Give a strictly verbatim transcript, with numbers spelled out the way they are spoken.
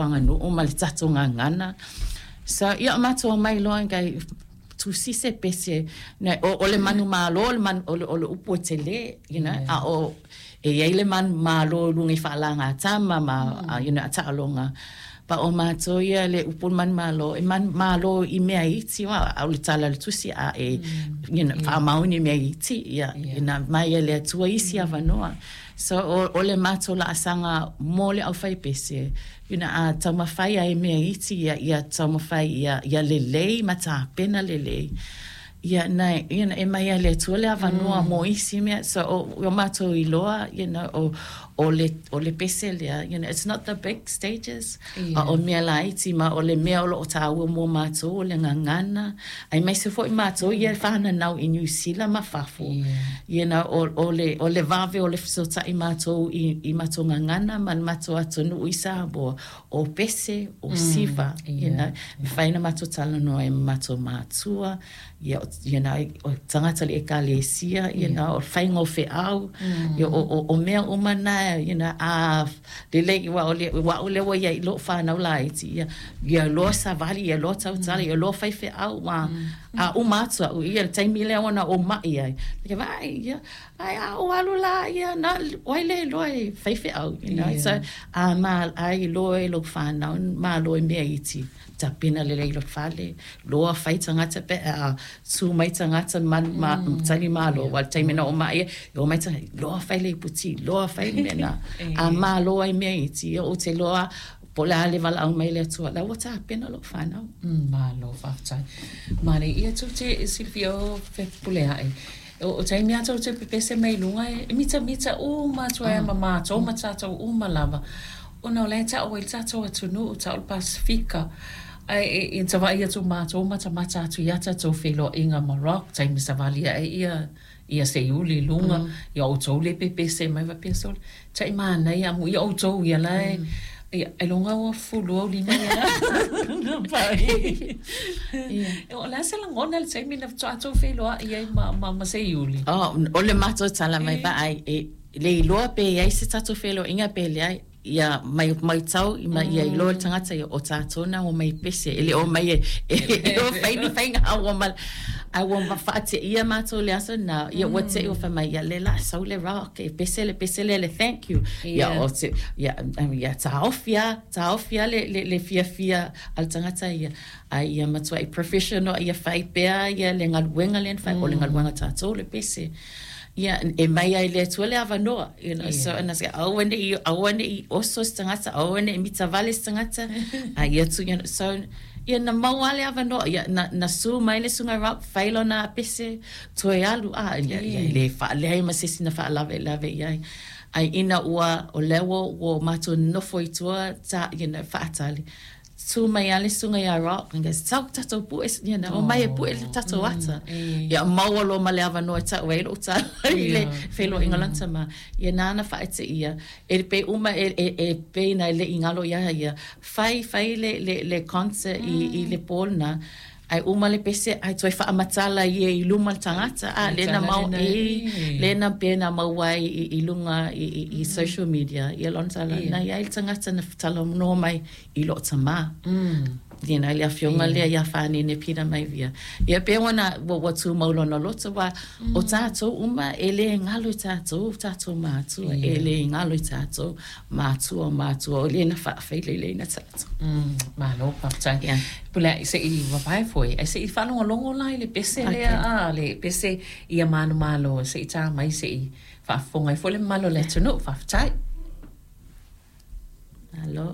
tatou aganuu ma le tatou gagana. So ia, o matou omai loa gai tusi se pese na o, o le manumalo, o le, manu, o le, o le upu e tele, you know, yeah. A o e iai le manumalo i luga i faalagatama ma mm. you know, taaloga pa o matou ia le upu o le manumalo e manumalo i mea iti wa o le tala le tusi a e mm. you know, yeah. faamaoni mea iti ia yeah. Ina mai e le Atua isi mm. avanoa. So o, o le matou laasaga mo le aufaipese, you know, a taumafai ai mea iti ia, ia taumafai ia, ia lelei ma tapena lelei. Ia, na, you know, e mai a le Atua le avanoa mm. mo isi mea. So, o, o matou iloa, you know, o, o le, o le pese lea, you know, it's not the big stages. Yeah. A o mea laiti ma o le mea o loo taua mo matou, o le gagana. Aemaise foi matou ia fananau i Niu Sila ma fafo. Yeah. You know, o, o le, o le vave o le fesootai matou i, i matou gagana ma le matou atunuu i Samoa. O pese, o siva, mm, yeah. You know, yeah. Mafai na matou talanoa e matou matua, ia, you know, o tagata le ekalesia, you yeah. know, o faiga o feau, mm. Ia, o, o, o mea uma na, you know, a lelei ua o le ua o le ua ia i loo whanau laiti, ia, ia loa savali, ia loa tautala, mm. Ia loa fai feau, wa, mm. A uma atu au, ia le taimi lea ona o mai ai. Ia vai, ia, ai a o alu la, ia, na, wai le loa e fai feau, you know, yeah. So, a ma, ai loa e lo whanau, ma loa e mea iti, tapena lelei lo fale, loa fai tagata pe a tu mai tagata man, ma, mm. Tali malo, yeah. Wa le taimi na o mai, o mai tagata, loa fai le iputi, loa fai le mea na, a malo ai mea iti, o te loa, po le ale wala au mai le Atua, la ua tapena lo whanau. Mm, malo, whaatai. Mare, ia tau te Silvia o pule ae. O, o taimi ata o te pepese mai lunga e, e mita mita o mātua e ma mātou, ma tātou o ma lava. O na o le tau e tātou atunu, o tau o Pasifika. Ai e, e tawai atu mātou, mata mata atu ia tātou whelo inga ma rock, taimi savalia e ia, ia se uli lunga, mm. Ia o tau le pepese mai va pesole. Tai mana ia mu, ia o tau ia lai, mm. Ia, e longa ua fulu au lima ia. Na pai. O la se langona le taimi na tātou whelo a ia ma, ma, ma se iuli. Oh, o le matou tala mai ba ai, e, le iloa pe iai se tātou whelo inga pe le ai, ia mai mai tau i ma ia iloa le tagata ia o tātou na o mai pese e le o mai e e o fai ni fainga a ua mal a ua ma whaate ia mātou le aso na ia ua te o whamai ia le la sau le rock e pese le pese le le thank you ia o te ia ia taofia taofia le le le fia fia al tagata ia a ia matua i professional ia fai pea ia le galuega le fai o le galuega tātou le pese. Ia, e mai ai le Atua le avanoa, you know, yeah. So, and I say, aua ne i, aua ne i oso se tagata, aua ne i mitavale se tagata, a ia tu, you know, so, ia na maua le avanoa, ia, na, na su mai le sunga rock, whailo na pese, toe alu, a, ia, ia, le whaalehai ma sesi na whaalave, lave iai. Ai ina ua, o lewa, ua mātou nofo i tua, ta, you know, whaatali. Tu mai ale sunga ia rock and goes tau tatou pu you know, o mai e pu e tatou ata. Ia maua lo ma le avanoa tau e lo tala i le whelo ingalanta ma. Ia nāna whaete ia. E pe uma e, e, e pe na le ingalo ia ia. Whai, whai le, le, le concert i, i le pōlna. Ai uma le pese ai toi whaamatala ia i luma le tangata a le na mau e le na pena mau ai i, i lunga i, i, i social media ia lontala na ia le tangata na tala no mai i lo tama mm. You know, le afionga lea ia whanene pira mai via. Ia pe wana wa wa tu maulona loto wa o tātou uma e le ngalo i tātou, tātou mātua, e le ngalo i tātou, mātua, mātua, o le na whaawhaile le na tātou. Mm, malo, whaatai. Yeah. Pula, se i wapai foi, se i whalongo lai le pese lea, a, le pese ia manu malo, se i tā mai, se i whaafonga i fo le malo le tunu, whaatai. Malo.